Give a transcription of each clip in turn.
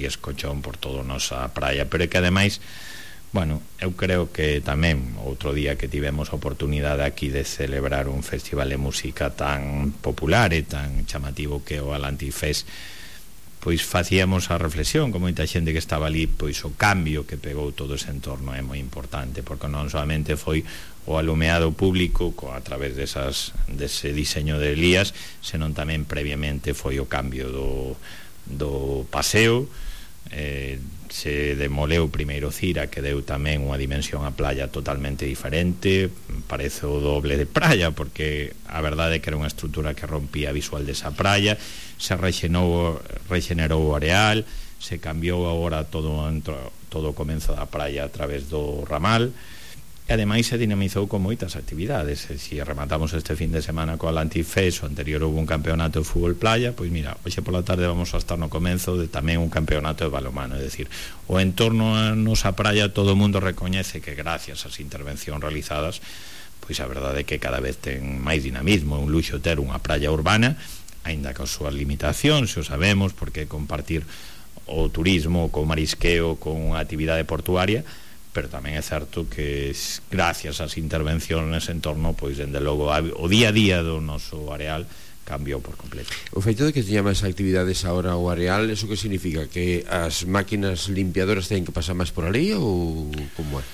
Elías Cochón por toda a nosa praia, pero é que ademais, bueno, eu creo que tamén outro día que tivemos a oportunidade aquí de celebrar un festival de música tan popular e tan chamativo que o Atlantic, pois facíamos a reflexión con moita xente que estaba ali, pois o cambio que pegou todo ese entorno é moi importante, porque non solamente foi o alumeado público a través dese diseño de Elías, senón tamén previamente foi o cambio do paseo. Se demoleu primeiro Cira, que deu tamén unha dimensión á playa totalmente diferente, parece o doble de praia, porque a verdade é que era unha estrutura que rompía a visual desa praia. Se rexenerou o areal, se cambiou agora todo o comenzo da praia a través do ramal, e ademais se dinamizou con moitas actividades. Se rematamos este fin de semana co Atlantic Fest, o anterior houve un campeonato de fútbol playa, pois mira, hoxe pola tarde vamos a estar no comenzo de tamén un campeonato de balonmano. É dicir, o entorno a nosa praia todo o mundo recoñece que gracias ás intervencións realizadas, pois a verdade é que cada vez ten máis dinamismo. É un luxo ter unha praia urbana, aínda que as súas limitacións, o sabemos, porque compartir o turismo co marisqueo con unha actividade portuaria, pero tamén é certo que gracias ás intervencións nese entorno, pois dende logo o día a día do noso areal cambiou por completo. O feito de que teña máis actividades agora o areal, eso que significa? Que as máquinas limpiadoras teñen que pasar máis por ali ou como é?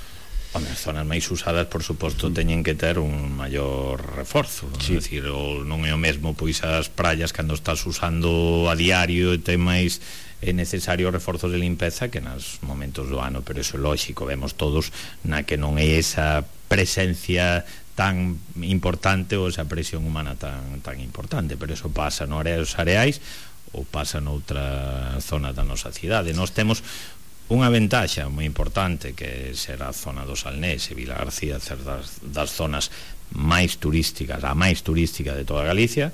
As zonas máis usadas, por suposto, teñen que ter un maior reforzo, sí. É dicir, non é o mesmo pois as praias cando estás usando a diario e ten máis necesario reforzos de limpeza que nos momentos do ano, pero iso é lógico, vemos todos na que non é esa presencia tan importante ou esa presión humana tan importante, pero iso pasa nos areais ou pasa noutra zona da nosa cidade. Nós temos unha ventaxa moi importante, que ser a zona do Salnés e Vilagarcía, ser das zonas máis turísticas, a máis turística de toda Galicia,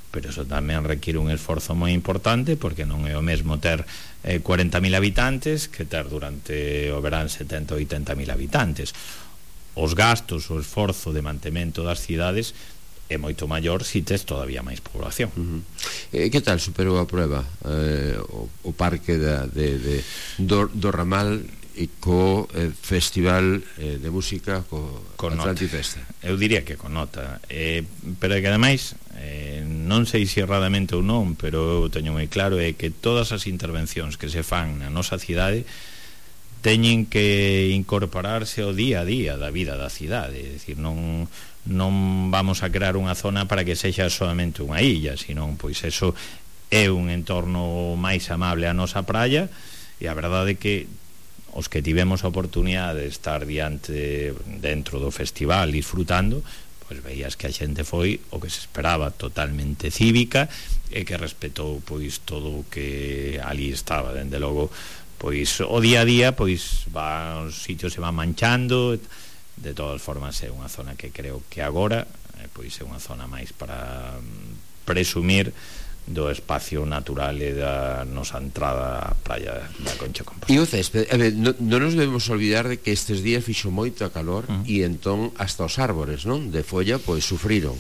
pero eso tamén requiere un esforzo moi importante, porque non é o mesmo ter 40.000 habitantes que ter durante o verán 70 ou 80.000 habitantes. Os gastos, o esforzo de mantemento das cidades é moito maior se tes todavía máis población. Que tal superou a prueba o parque do Ramal e co festival de música co Atlantic Fest? Eu diría que con nota, pero que ademais non sei se erradamente ou non, pero eu teño moi claro é que todas as intervencións que se fan na nosa cidade teñen que incorporarse ao día a día da vida da cidade. É dicir, non vamos a crear unha zona para que sexa solamente unha illa, senón, pois eso é un entorno máis amable á nosa praia, e a verdade é que os que tivemos a oportunidade de estar dentro do festival disfrutando, pois veías que a xente foi o que se esperaba, totalmente cívica, e que respetou pois todo o que ali estaba. Dende logo, pois o día a día, pois os sitios se van manchando. De todas formas é unha zona que creo que agora pois é unha zona máis para presumir do espacio natural e da nosa entrada á praia da Concha Compostela. E o césped, non nos debemos olvidar de que estes días fixo moito calor e entón hasta os árbores, non? De folla, pois sufriron.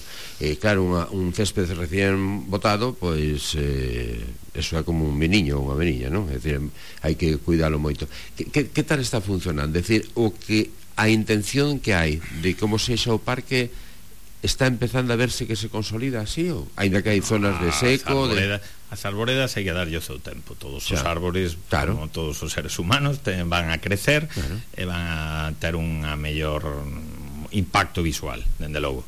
Claro, un césped recén botado, pois eso é como un meniño ou unha meniña, non? É dicir, hai que cuidalo moito. Que tal está funcionando? É dicir, a intención que hai de como sexa o parque está empezando a verse que se consolida así, ou aínda que hai zonas de seco? As arboredas hai que darlle o seu tempo. Todos os árbores, como todos os seres humanos, van a crecer, e van a ter un mellor impacto visual, dende logo.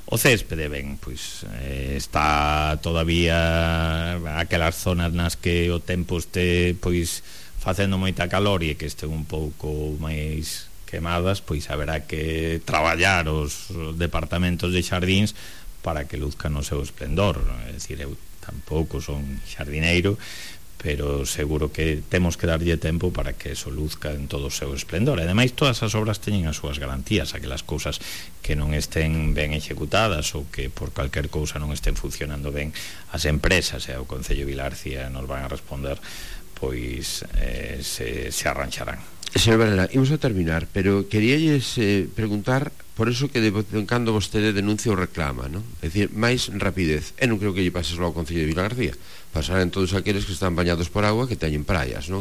O céspede, ben, pois está todavía aquelas zonas nas que o tempo este pois facendo moita calor e que este un pouco máis quemadas, pois haberá que traballar os departamentos de xardíns para que luzcan o seu esplendor. É dicir, eu tampouco son xardineiro, pero seguro que temos que darlle tempo para que eso luzca en todo o seu esplendor. E ademais todas as obras teñen as súas garantías, aquelas cousas que non estén ben executadas ou que por calquer cousa non estén funcionando ben, as empresas e o Concello de Vilagarcía nos van a responder, pois se arrancharán. Señor Varela, imos a terminar, pero queríalles preguntar por eso que de vez en cando vostede denuncia ou reclama, non? É dicir, máis rapidez. E non creo que lle pase só ao Concello de Vilagarcía, pasarán todos aqueles que están bañados por agua que teñen praias, non?